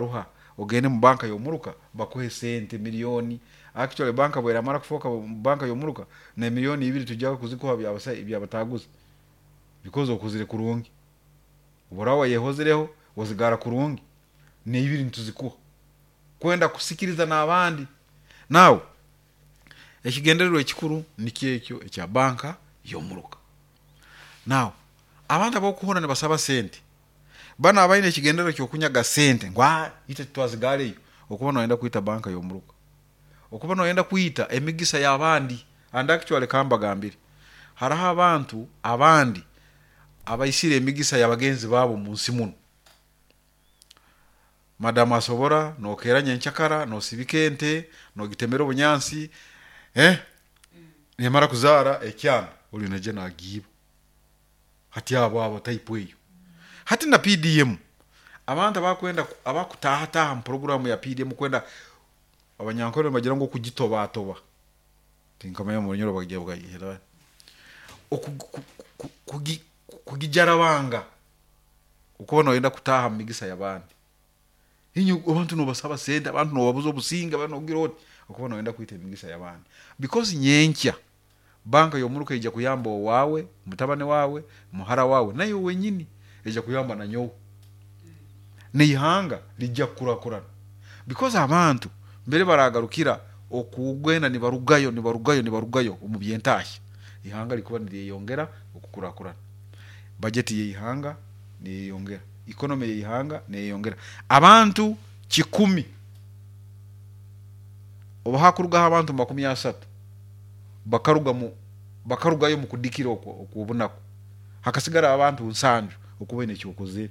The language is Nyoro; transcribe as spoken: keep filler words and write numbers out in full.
Ruha ogende mu banka y'omuruka bakuhe sente miliyoni. Actually, banka bweramara kufooka banka y'omuruka, n'emiliyoni ibiri tujya kuzikuha byabataguza because okozire kurungi. Obu wayehozereho wazigara kurungi, n'ibiri nituzikuha kwenda kusikiriza n'abandi. Now, ekigendererwa ekikuru nikyo ekyo ekya banka y'omuruka. Now, abantu abokuhurra nibasaba sente, banu abaine ekigendererwa ekyokunyaga sente ngu aa itwe titwazigareyo, okuba noyenda kwita banka y'omuruka, okuba noyenda kwita emigisa y'abandi. And actually, kambagambire, haroho abantu abandi abaisire emigisa y'abagenzi baabo munsi munu. Madamu asobora nokeera nyenkyakara nosibika ente, nogitemera obunyansi, eh nemara kuzaara ekyana, oli naija nagiiba. Hati abo abo type eyo. Hati na P D M, abantu abakwenda abakutahataaha mu programu ya P D M, kwenda Abanyankore nibagira ngu okugitobatoba, tinkamanya mu Runyoro bagira kugijarabanga, okuba noyenda kutaaha mu migisa y'abandi. Inywe abantu nobasaba sente, abantu nobabuza obusinge, abantu nogira oti, okuba noyenda kwita emigisa y'abandi, because nyenkya banka y'omuruka eija kuyamba owaawe, mutabani waawe, muhara waawe, naiwe wenyini eija kuyamba nanyowe, n'ihanga lijja kukurakurana, because abantu mbere baragarukira okugenda nibarugayo, nibarugayo, nibarugayo omu byentahya, ihanga likuba niryeyongera okukurakurana, bajeti y'ihanga neyeyongera, economy y'ihanga neyeyongera. Abantu kikumi, obu hakurugaho abantu makumi asatu bakaruga mu bakarugayo mu kudikira okwo okw'obunaku, hakasigara abantu nsanju, okuba oine eki okozere.